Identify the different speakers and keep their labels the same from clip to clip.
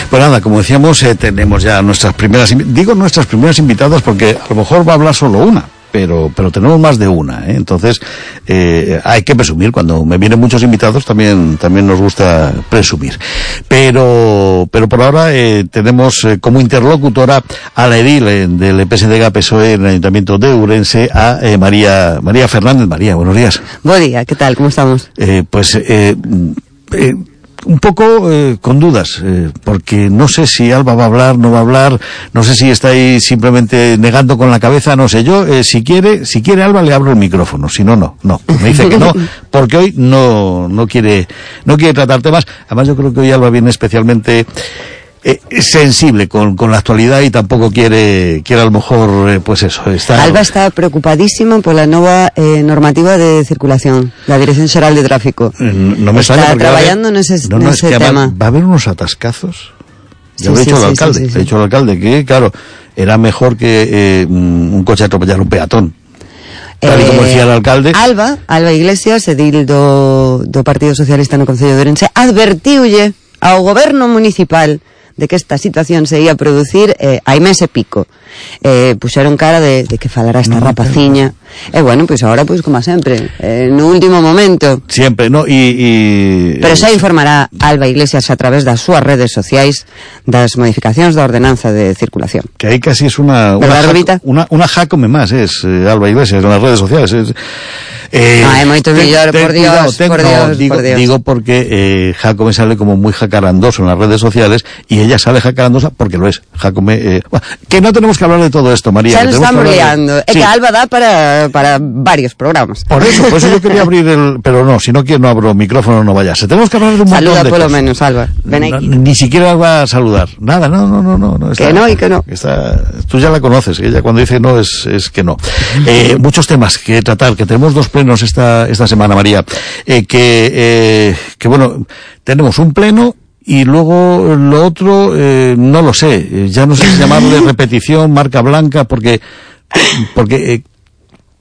Speaker 1: Pues nada, como decíamos, tenemos ya nuestras primeras invitadas porque a lo mejor va a hablar solo una. Pero tenemos más de una, ¿eh? Entonces hay que presumir. Cuando me vienen muchos invitados también nos gusta presumir. Pero por ahora tenemos como interlocutora a la edil del PSDG-PSOE en el Ayuntamiento de Ourense, a María Fernández. María, buenos días.
Speaker 2: Buen día, ¿qué tal? ¿Cómo estamos?
Speaker 1: Un poco con dudas, porque no sé si Alba va a hablar, no va a hablar, no sé si está ahí simplemente negando con la cabeza, no sé. Yo, si quiere Alba, le abro el micrófono, si no. Me dice que no, porque hoy no quiere tratar temas. Además, yo creo que hoy Alba viene especialmente sensible con la actualidad y tampoco quiere a lo mejor, pues eso.
Speaker 2: Alba está preocupadísima por la nueva normativa de circulación, la Dirección Xeral de Tráfico.
Speaker 1: No me
Speaker 2: está trabajando en ese tema.
Speaker 1: Va a haber unos atascazos. Ya lo he dicho al alcalde. He dicho al alcalde que, claro, era mejor que un coche atropellara un peatón. Tal y como decía el alcalde.
Speaker 2: Alba Iglesias, edil do Partido Socialista no Concello de Ourense, advertiulle ao goberno municipal de que esta situación se ia producir hai mes e pico. Puxeron cara de que falara esta rapaciña. Bueno, pois agora, pois como sempre, no último momento.
Speaker 1: Sempre, no,
Speaker 2: pero xa informará Alba Iglesias a través das súas redes sociais das modificacións da ordenanza de circulación.
Speaker 1: Que aí casi es una Jácome más, Alba Iglesias, en las redes sociales.
Speaker 2: É moito mellor, por Dios.
Speaker 1: Digo porque Jácome sale como muy jacarandoso en las redes sociales y ella sale jacarandosa porque lo es. Jácome, que no tenemos que hablar de todo esto, María.
Speaker 2: Ya nos estamos liando. Es que Alba da para varios programas.
Speaker 1: Por eso yo quería abrir pero no, si no quiero no abro micrófono, no vayas. Tenemos que hablar de un montón de cosas.
Speaker 2: Saluda por lo menos, Alba. Ven aquí.
Speaker 1: Ni siquiera va a saludar. Nada, no.
Speaker 2: Que no y que no.
Speaker 1: Tú ya la conoces, ella cuando dice no es que no. Muchos temas que tratar, que tenemos dos plenos esta semana, María, que bueno, tenemos un pleno y luego lo otro no lo sé, ya no sé si llamarle repetición, marca blanca, porque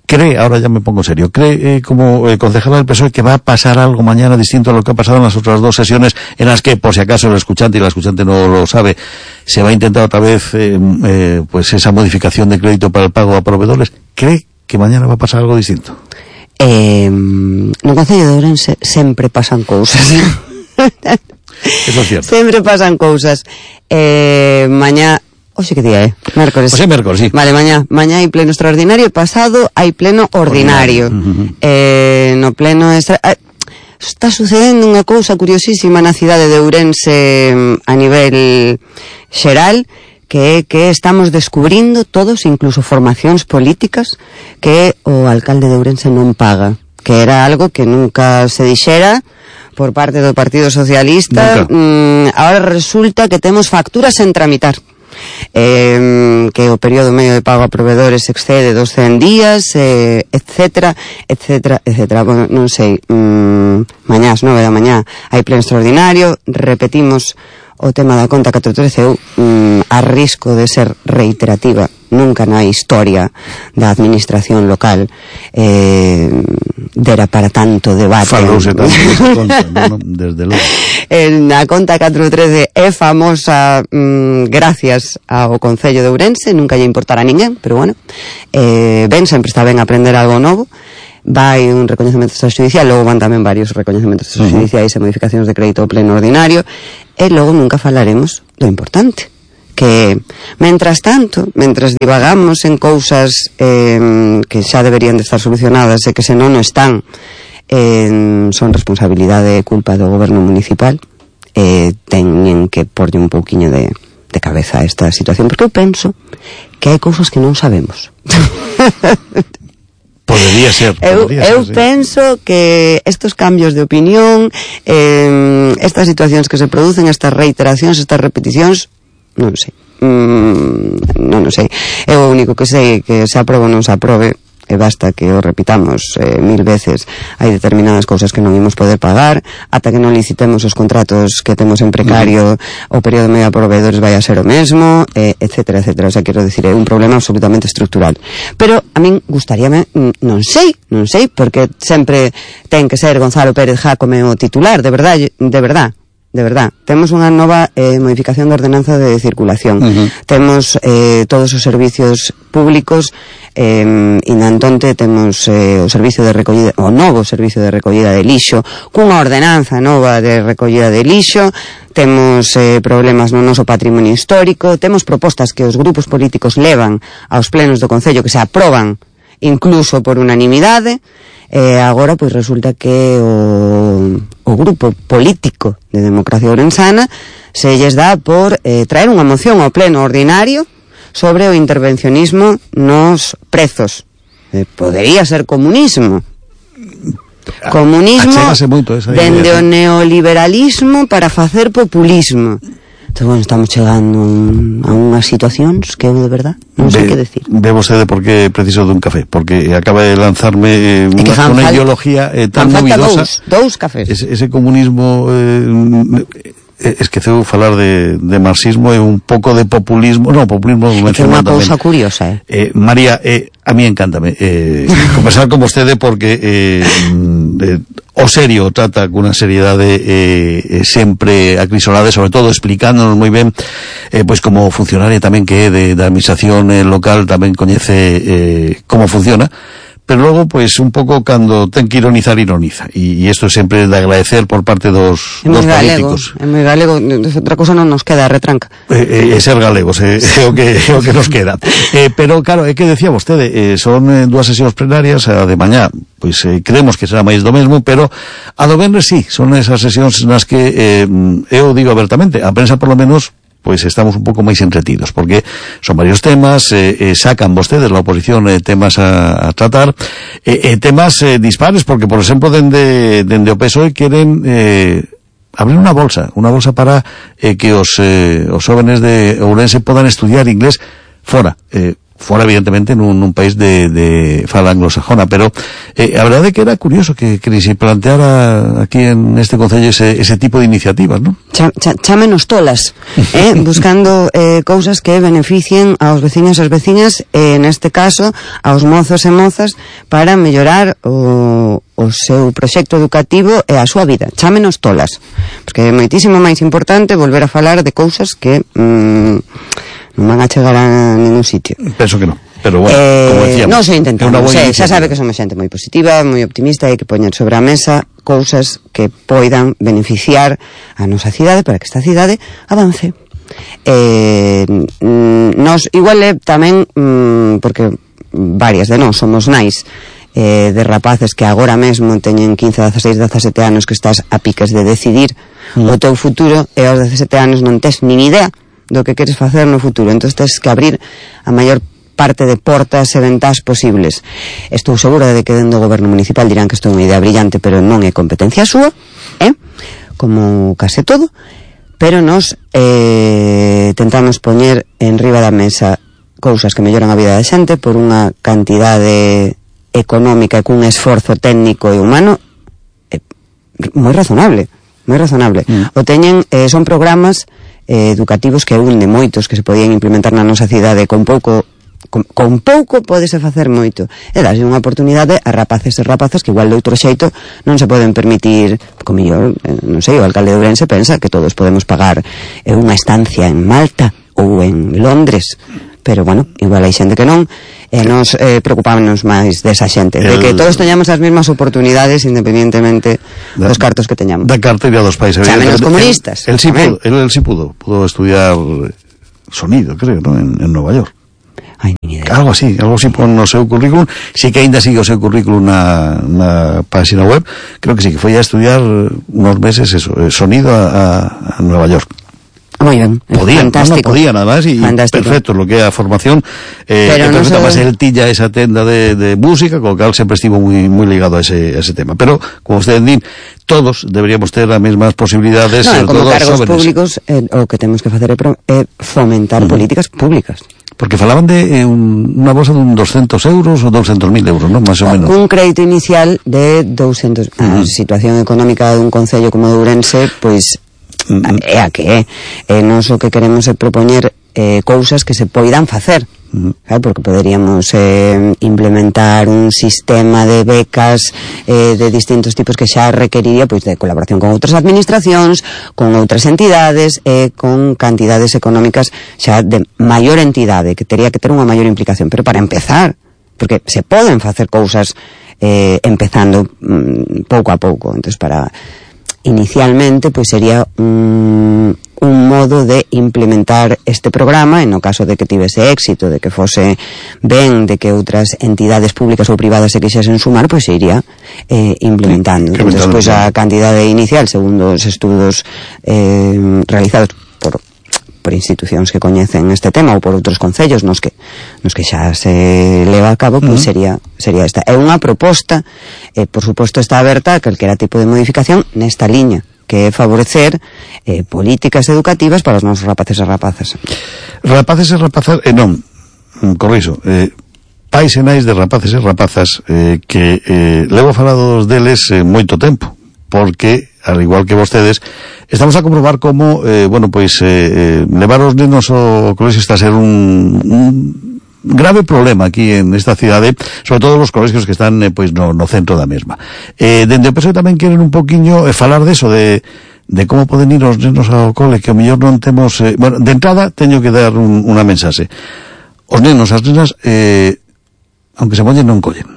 Speaker 1: cree, ahora ya me pongo serio, cree como concejala del PSOE que va a pasar algo mañana distinto a lo que ha pasado en las otras dos sesiones, en las que, por si acaso el escuchante y la escuchante no lo sabe, se va a intentar otra vez pues esa modificación de crédito para el pago a proveedores. ¿Cree que mañana va a pasar algo distinto?
Speaker 2: No Concello de Ourense sempre pasan cousas.
Speaker 1: Eso es cierto.
Speaker 2: Sempre pasan cousas. Mañá, oxe que día é? Mércores.
Speaker 1: Oxe mércores, sí.
Speaker 2: Vale, mañá hai pleno extraordinario, pasado hai pleno ordinario. No pleno está sucedendo unha cousa curiosísima na cidade de Ourense a nivel xeral, que estamos descubrindo todos, incluso formacións políticas, que o alcalde de Ourense non paga, que era algo que nunca se dixera por parte do Partido Socialista. Ahora resulta que temos facturas en tramitar, que o período medio de pago a proveedores excede dos 100 días, etcétera. Bueno, non sei, mañá ás 9 da mañá hai pleno extraordinario, repetimos o tema da conta 413. Eu a risco de ser reiterativa, nunca na historia da administración local dera para tanto debate.
Speaker 1: Falouse tanto desa conta, no, desde logo.
Speaker 2: A conta 413 é famosa gracias ao Concello de Ourense, nunca lle importará a ninguén, pero bueno, sempre está ben aprender algo novo. Vai un recoñecemento extrajudicial, logo van tamén varios recoñecementos extrajudiciais e modificacións de crédito ao pleno ordinario, e logo nunca falaremos do importante, que mentras divagamos en cousas que xa deberían de estar solucionadas e que se non están, son responsabilidade e culpa do goberno municipal, teñen que porlle un pouquiño de cabeza a esta situación, porque eu penso que hai cousas que non sabemos.
Speaker 1: Podría ser.
Speaker 2: Eu penso que estos cambios de opinión, estas situacións que se producen, estas reiteracións, estas repeticións, non sei. Non sei. Eu o único que sei que se aprobe ou non se aprobe, e basta que o repitamos 1000 veces, hai determinadas cousas que non imos poder pagar, ata que non licitemos os contratos que temos en precario, o período medio a proveedores vai a ser o mesmo, etcétera. O sea, quero dicir, é un problema absolutamente estructural. Pero a min gustaríame, non sei, porque sempre ten que ser Gonzalo Pérez Jácome o titular, de verdad. de verdad. Temos unha nova modificación da ordenanza de circulación. Temos todos os servicios públicos, inantonte temos o servicio de recollida, o novo servicio de recollida de lixo, cunha ordenanza nova de recollida de lixo. Temos problemas no noso patrimonio histórico, temos propostas que os grupos políticos levan aos plenos do Concello que se aproban incluso por unanimidade. Agora pois resulta que o grupo político de Democracia Ourensana se lles dá por traer unha moción ao pleno ordinario sobre o intervencionismo nos prezos. Podería ser comunismo dende o neoliberalismo para facer populismo. Entón, bueno, estamos chegando a unhas situacións que eu de verdad non sei que decir.
Speaker 1: Ve vostede por que preciso dun café, porque acaba de lanzarme unha ideología tan novidosa.
Speaker 2: Dous cafés.
Speaker 1: Ese comunismo esqueceu falar de marxismo e un pouco de populismo. No, populismo
Speaker 2: é unha cousa curiosa.
Speaker 1: María, a mí encántame conversar con vostede porque o serio trata cunha seriedade sempre acrisolada, sobre todo explicándonos moi ben pois como funcionaria tamén que é da administración local, tamén coñece como funciona. Pero logo, pois, un pouco cando ten que ironiza, e isto sempre de agradecer por parte dos políticos.
Speaker 2: É moi galego, outra cosa non nos queda, retranca.
Speaker 1: Ser galegos, é o que nos queda. Pero, claro, é que decía vostede, son dúas sesións plenarias, a de mañá, pois creemos que será máis do mesmo, pero a do venres sí, son esas sesións nas que, eu digo abertamente, a prensa por lo menos pois estamos un pouco máis entretidos, porque son varios temas, sacan vostedes la oposición temas a tratar, temas dispares, porque, por exemplo, dende o PSOE queren abrir unha bolsa para que os jóvenes de Ourense podan estudiar inglés fora, evidentemente nun país de fala anglosajona, pero a verdade é que era curioso que se planteara aquí en este concello ese tipo de iniciativas, ¿no?
Speaker 2: Chámenos tolas, buscando cousas que beneficien aos veciños e as veciñas, neste caso aos mozos e mozas, para mellorar o seu proxecto educativo e a súa vida. Chámenos tolas, porque é moitísimo máis importante volver a falar de cousas que non van a chegar a ningún sitio.
Speaker 1: Penso que non, pero bueno, como decíamos,
Speaker 2: non se intentamos, xa sabe que somos xente moi positiva, moi optimista, e hai que poñer sobre a mesa cousas que poidan beneficiar a nosa cidade para que esta cidade avance. Nos igual tamén porque varias de nós somos nais de rapaces que agora mesmo teñen 15, 16, 17 anos, que estás a piques de decidir o teu futuro, e aos 17 anos non tes nin idea do que queres facer no futuro. Entón tens que abrir a maior parte de portas e ventás posibles. Estou segura de que dentro do goberno municipal dirán que isto é unha idea brillante, pero non é competencia súa, como case todo, pero nos tentamos poñer en riba da mesa cousas que melloran a vida da xente por unha cantidade económica e cun esforzo técnico e humano moi razonable. O teñen, son programas educativos que un de moitos que se podían implementar na nosa cidade. Con pouco pódese facer moito, e darlle unha oportunidade a rapaces e rapazas que igual de outro xeito non se poden permitir, como mellor, non sei, o alcalde de Ourense pensa que todos podemos pagar unha estancia en Malta ou en Londres, pero bueno, igual hai xente que non, e nos preocupámonos máis desa xente, de que todos teñamos as mesmas oportunidades independientemente dos cartos que teñamos.
Speaker 1: Da carteira dos países.
Speaker 2: Xa menos comunistas.
Speaker 1: Él sí pudo estudiar sonido, creo, ¿no? En Nueva York.
Speaker 2: Ai, ni idea.
Speaker 1: Algo así pon no seu currículum. Sí que ainda sigue o seu currículum na página web. Creo que sí, que foi a estudiar unos meses sonido a Nueva York.
Speaker 2: Moi ben, fantástico.
Speaker 1: No podía nada más, y perfecto lo que é a formación, perfecta, más él tilla esa tenda de música, con lo cual sempre estivo muy ligado a ese tema. Pero, como ustedes din, todos deberíamos ter as mesmas posibilidades,
Speaker 2: como cargos públicos, o que temos que facer é fomentar políticas públicas.
Speaker 1: Porque falaban de unha bolsa de 200 euros ou 200.000 euros, ¿no? Más o menos.
Speaker 2: Un crédito inicial de 200. A situación económica dun concello como de Ourense, pois é a que é. Nos o que queremos é propoñer cousas que se poidan facer. Porque poderíamos implementar un sistema de becas de distintos tipos que xa requeriría pois de colaboración con outras administracións, con outras entidades, con cantidades económicas xa de maior entidade, que tería que ter unha maior implicación. Pero para empezar, porque se poden facer cousas empezando pouco a pouco. Entonces, para inicialmente pois sería un modo de implementar este programa, en o caso de que tivese éxito, de que fose ben, de que outras entidades públicas ou privadas se quixesen sumar, pois se iría implementando. Despois a cantidade inicial, segundo os estudos realizados por institucións que coñecen este tema ou por outros concellos nos que xa se leva a cabo, pois sería esta. É unha proposta, por suposto está aberta a calquera tipo de modificación nesta liña, que é favorecer políticas educativas para os nosos rapaces e rapazas.
Speaker 1: Rapaces e rapazas, non, corriso, pais e nais de rapaces e rapazas que levo falado deles moito tempo, porque, al igual que vostedes, estamos a comprobar como, levar os nenos ao colexio está a ser un grave problema aquí en esta cidade, sobre todo os colexios que están no centro da mesma. Dende o PSOE tamén queren un poquinho falar deso, de como poden ir os nenos ao cole, que o mellor non temos... de entrada, teño que dar unha mensaxe. Os nenos, as nenas, aunque se mollen, non collen.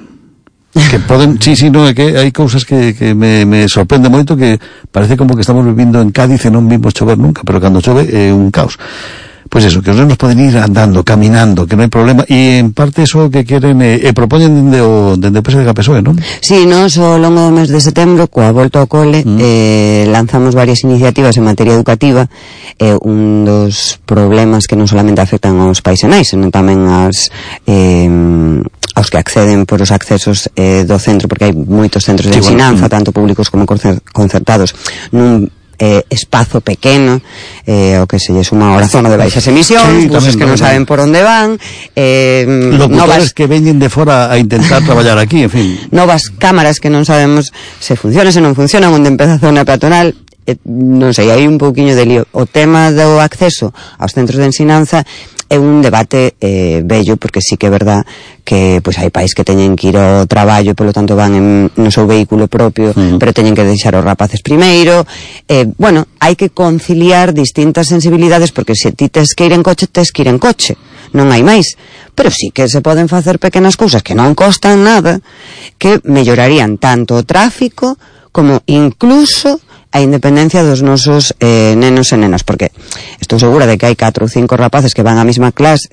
Speaker 1: Que poden, no, é que hai cousas que me sorprende moito, que parece como que estamos vivindo en Cádiz e non vimos chover nunca, pero cando chove é un caos. Pois eso, que os nenos poden ir andando, caminando, que non hai problema, e en parte eso que queren propoñen dende o PSOE da PSOE, non?
Speaker 2: Sí, nos ao longo do mes de setembro, coa volta ao cole, lanzamos varias iniciativas en materia educativa. Un dos problemas que non solamente afectan aos pais e nais, senón tamén aos que acceden por os accesos do centro, porque hai moitos centros de ensinanza, tanto públicos como concertados, nun espazo pequeno, o que se lle suma a zona de baixas emisións, buses que non saben por onde van,
Speaker 1: locutores que veñen de fora a intentar traballar aquí, en fin,
Speaker 2: novas cámaras que non sabemos se funcionan, se non funcionan, onde empeza a zona peatonal. Non sei, hai un pouquiño de lío. O tema do acceso aos centros de ensinanza é un debate bello, porque sí que é verdad que pois hai pais que teñen que ir ao traballo e polo tanto van no seu vehículo propio, pero teñen que deixar os rapaces primeiro. Hai que conciliar distintas sensibilidades, porque se ti tes que ir en coche, tes que ir en coche, non hai máis. Pero sí que se poden facer pequenas cousas que non costan nada, que mellorarían tanto o tráfico como incluso a independencia dos nosos nenos e nenas, porque estou segura de que hai 4 ou 5 rapaces que van á mesma clase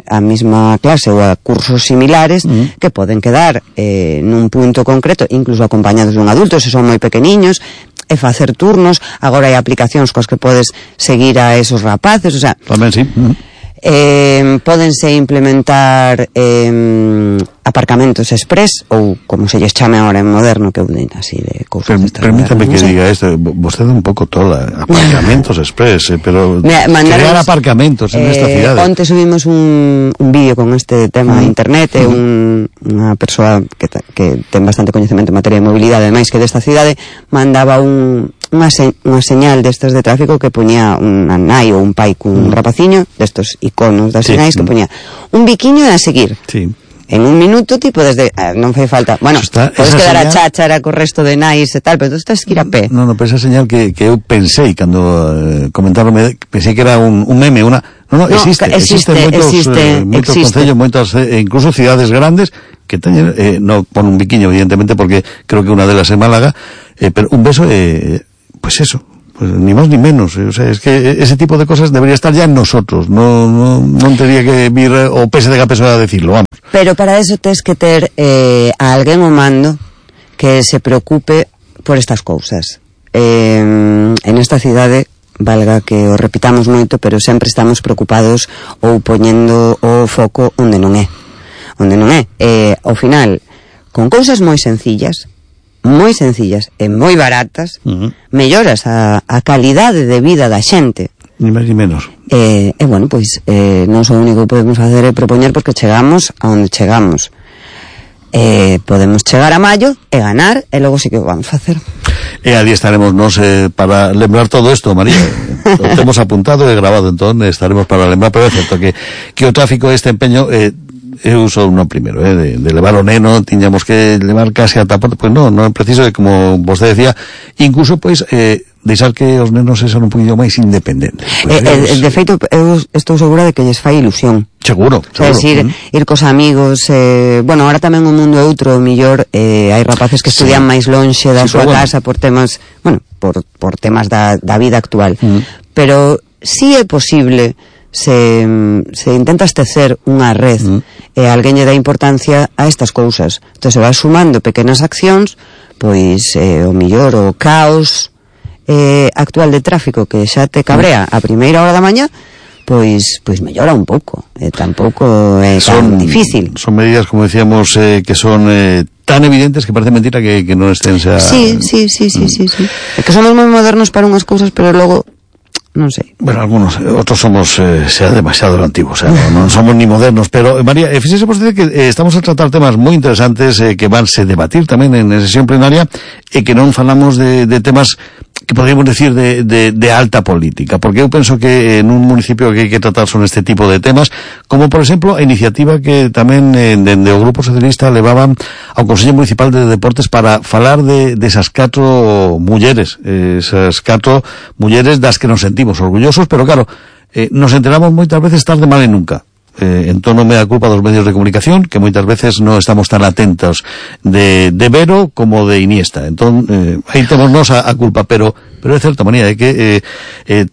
Speaker 2: ou a cursos similares, que poden quedar nun punto concreto, incluso acompañados dun adulto, se son moi pequeniños, e facer turnos. Agora hai aplicacións coas que podes seguir a esos rapaces, o sea,
Speaker 1: tamén sí.
Speaker 2: Pódense implementar aparcamentos express, ou como se lles chame ahora en moderno, que así de cousas.
Speaker 1: Permítame que diga isto, vostede un pouco tola, aparcamentos express, pero crear aparcamentos en esta cidade.
Speaker 2: Onte subimos un vídeo con este tema a internet, unha persoa que ten bastante coñecemento en materia de mobilidade, máis que desta cidade, mandaba unha señal destas de tráfico que poñía unha nai ou un pai cun rapaciño, destos iconos das sinais, que poñía un biquiño a seguir.
Speaker 1: Sí.
Speaker 2: En un minuto ti podes non fai falta, podes quedar a cháchara co resto de nais e tal, pero tú estás que ir a pé.
Speaker 1: Non, pero esa señal que eu pensei cando comentaron, pensei que era un meme, existe moitos concellos, moitas, incluso cidades grandes que teñen, non pon un biquiño evidentemente porque creo que unha delas é Málaga, pero un beso, pues eso, pues ni máis ni menos, o sea, es que ese tipo de cosas debería estar ya en nosotros, non tendría que vir o PSD a persoa a decirlo, vamos.
Speaker 2: Pero para eso tes que ter a alguén ao mando que se preocupe por estas cousas. En esta cidade, valga que o repitamos moito, pero sempre estamos preocupados ou poñendo o foco onde non é. Ao final, con cousas moi sencillas e moi baratas, melloras a calidade de vida da xente.
Speaker 1: Ni máis ni menos.
Speaker 2: Non o único que podemos facer é propoñer, porque chegamos a onde chegamos. Podemos chegar a maio e ganar, e logo sí que o vamos facer.
Speaker 1: ali estaremos nos para lembrar todo isto, María. Lo temos apuntado e grabado, entón estaremos para lembrar, pero é certo que o tráfico este empeño eu sou no primeiro, de levar o neno, tiñamos que levar case ata porta, pois non é preciso, como vostede decía, incluso pois deixar que os nenos sean un poquinho máis independentes.
Speaker 2: De feito, eu estou segura de que lles fai ilusión.
Speaker 1: Seguro.
Speaker 2: É dicir, ir cos amigos, bueno, ahora tamén o mundo é outro, millor, hai rapaces que estudian máis lonxe da súa casa por temas, bueno, por temas da vida actual. Pero si é posible, se intentas tecer unha red e alguén lle dá importancia a estas cousas, entón se vai sumando pequenas accións, pois o millor o caos actual de tráfico que xa te cabrea a primeira hora da mañá, pois mellora un pouco, tampouco é tan difícil.
Speaker 1: Son medidas, como decíamos, que son tan evidentes que parece mentira que non estén xa...
Speaker 2: Sí. É que somos moi modernos para unhas cousas, pero logo non sei.
Speaker 1: Bueno, algunos, outros somos xa demasiado antigos, non somos ni modernos, pero María, fíxese vostede que estamos a tratar temas moi interesantes que vanse debatir tamén en sesión plenaria e que non falamos de temas que podríamos decir de alta política, porque eu penso que en un municipio que hai que tratar son este tipo de temas, como por exemplo a iniciativa que tamén dende o Grupo Socialista levaban ao Consello Municipal de Deportes para falar de esas 4 mulleres, esas 4 mulleres das que nos sentimos orgullosos, pero claro, nos enteramos moitas veces tarde, mal e nunca. En tono me da culpa dos medios de comunicación, que moitas veces non estamos tan atentos de Vero como de Iniesta. Entón, aí temos nos a culpa, pero é certa manera de que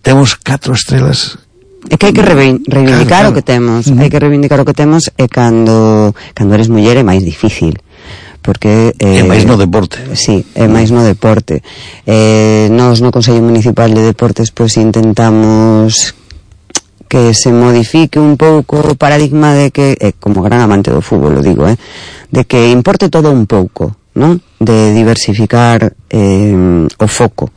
Speaker 1: temos 4 estrelas.
Speaker 2: É que hai que reivindicar o que temos, hai que reivindicar o que temos, e cando eres muller é máis difícil, porque
Speaker 1: é máis no deporte.
Speaker 2: Sí, é máis no deporte. Nós no Consello Municipal de Deportes pois intentamos que se modifique un pouco o paradigma de que, como gran amante do fútbol, lo digo, de que importe todo un pouco, non? De diversificar o foco,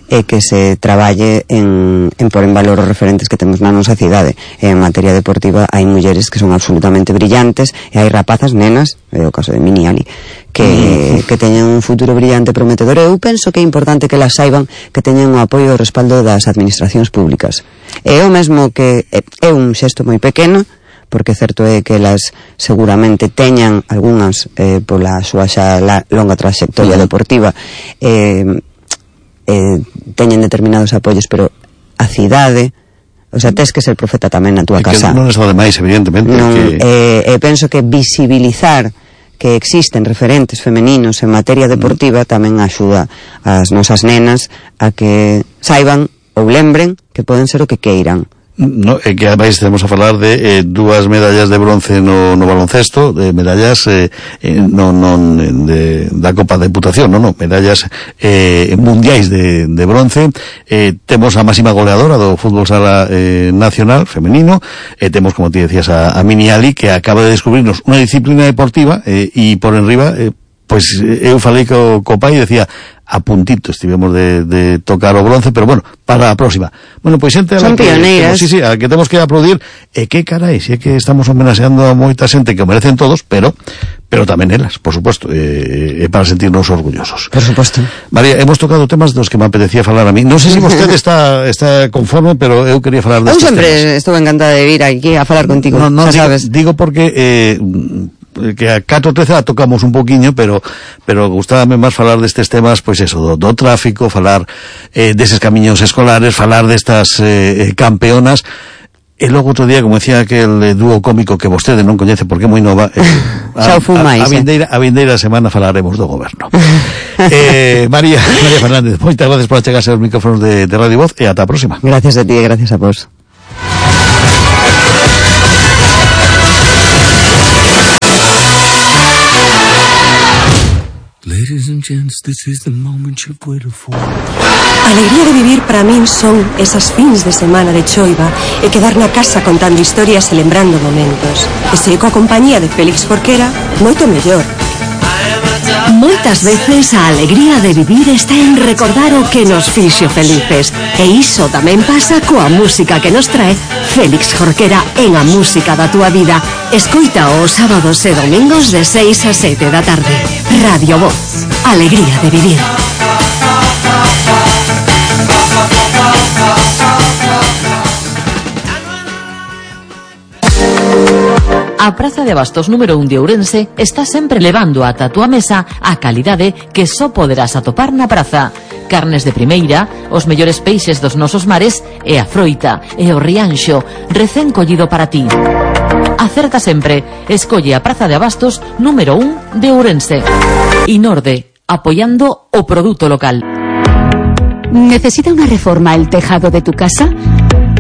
Speaker 2: e que se traballe en por en valor os referentes que temos na nosa cidade. En materia deportiva hai mulleres que son absolutamente brillantes, e hai rapazas, nenas, é o caso de Mini Ali, que teñen un futuro brillante, prometedor. Eu penso que é importante que las saiban, que teñen o apoio e o respaldo das administracións públicas. É o mesmo que é un xesto moi pequeno, porque certo é que elas seguramente teñan algunhas pola súa xa longa trayectoria deportiva teñen determinados apoios, pero a cidade, o sea, tes que ser profeta tamén na túa casa.
Speaker 1: Non está de máis, evidentemente.
Speaker 2: Penso que visibilizar que existen referentes femeninos en materia deportiva tamén axuda as nosas nenas a que saiban ou lembren que poden ser o que queiran.
Speaker 1: No, que ademais temos a falar de 2 medallas de bronce no baloncesto, de medallas da Copa de Deputación, medallas mundiais de bronce. Temos a máxima goleadora do fútbol sala nacional femenino, temos, como ti decías, a Mini Ali, que acaba de descubrirnos unha disciplina deportiva, e por enriba, pois eu falei co pai e decía, a puntito estivemos de tocar o bronce, pero bueno, para a próxima. Bueno, pois xente
Speaker 2: son pioneiras.
Speaker 1: Sí, a que temos que aplaudir, e que carai, se é que estamos homenaxeando a moita xente que o merecen todos, pero tamén elas, por suposto, para sentirnos orgullosos.
Speaker 2: Por suposto.
Speaker 1: María, hemos tocado temas dos que me apetecía falar a mí. Non sei se vostede está conforme, pero eu quería falar destes temas.
Speaker 2: Eu sempre estou encantada de vir aquí a falar contigo, xa sabes.
Speaker 1: Digo porque que a 4.13 a tocamos un poquinho, pero gustábame máis falar destes temas, pois eso, do tráfico, falar deses camiños escolares, falar destas campeonas. E logo outro día, como decía aquel dúo cómico que vostede non coñece porque é moi nova, a vindeira semana falaremos do goberno. María Fernández, moitas gracias por achegarse aos micrófonos de Radio Voz, e ata a próxima.
Speaker 2: Gracias a ti e gracias a vos.
Speaker 3: Ladies and gents, this is the moment you've waited for.
Speaker 4: Alegría de vivir para min son esas fins de semana de choiva e quedar na casa contando historias e lembrando momentos. E se coa compañía de Félix Jorquera, moito mellor.
Speaker 5: Moitas veces a alegría de vivir está en recordar o que nos fixo felices. E iso tamén pasa coa música que nos trae Félix Jorquera en A Música da Túa Vida. Escoita os sábados e domingos de 6 a 7 da tarde. Radio Voz. Alegría de vivir.
Speaker 6: A Praza de Abastos número 1 de Ourense está sempre levando ata a túa mesa a calidade que só poderás atopar na praza. Carnes de primeira, os mellores peixes dos nosos mares e a froita e o rianxo recén collido para ti. Acerta sempre, escolle a Praza de Abastos número 1 de Ourense. Inorde, apoyando o produto local.
Speaker 7: ¿Necesita una reforma el tejado de tu casa?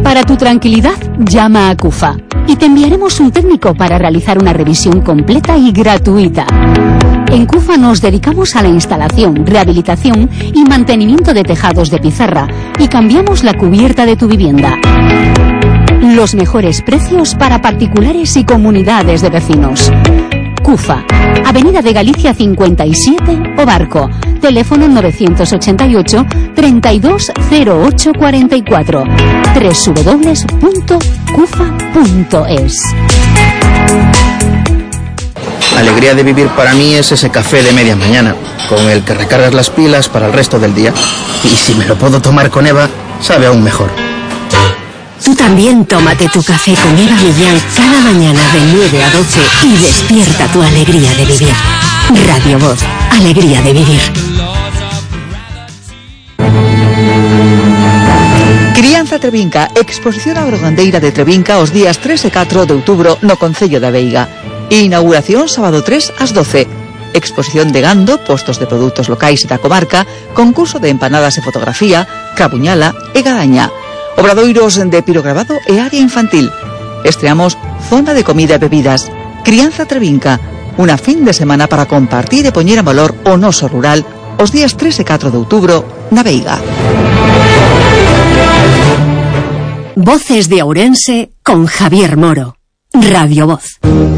Speaker 7: Para tu tranquilidad, llama a CUFA y te enviaremos un técnico para realizar una revisión completa y gratuita. En CUFA nos dedicamos a la instalación, rehabilitación y mantenimiento de tejados de pizarra y cambiamos la cubierta de tu vivienda. Los mejores precios para particulares y comunidades de vecinos. CUFA, Avenida de Galicia 57, O Barco, teléfono 988 320844, www.cufa.es.
Speaker 8: Alegría de vivir para mí es ese café de media mañana, con el que recargas las pilas para el resto del día. Y si me lo puedo tomar con Eva, sabe aún mejor.
Speaker 5: Tú también tómate tu café con Eva Millán cada mañana de 9 a 12 y despierta tu alegría de vivir. Radio Voz, alegría de vivir.
Speaker 9: Crianza Trevinca, exposición agrogandeira de Trevinca os días 3 e 4 de outubro no Concello da Veiga. Inauguración sábado 3 ás 12. Exposición de gando, postos de produtos locais da comarca, concurso de empanadas e fotografía, crabuñala e gadaña. Obradoiros de pirograbado e área infantil. Estreamos zona de comida e bebidas. Crianza Trevinca, unha fin de semana para compartir e poñer en valor o noso rural os días 3 e 4 de outubro na Veiga.
Speaker 5: Voces de Ourense con Javier Moro. Radio Voz.